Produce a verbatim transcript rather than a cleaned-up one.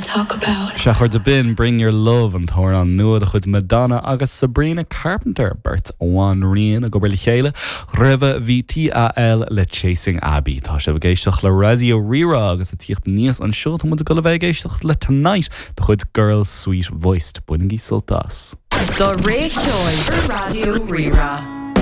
talk about. Sea a chairde b'in Bring Your Love an t-amhrán nua de chuid Madonna agus Sabrina Carpenter beirt bhanríon ag obair le chéile roimhe bhí TAL le Chasing Abbey Tá sibh ag éisteacht le Raidió Rí-Rá agus ag tíocht aníos anseo tá muid ag dul a bheith ag éisteacht le Tonight de chuid Girl Sweet Voiced bainigí sult as. Do ré ceoil Raidió Rí-Rá.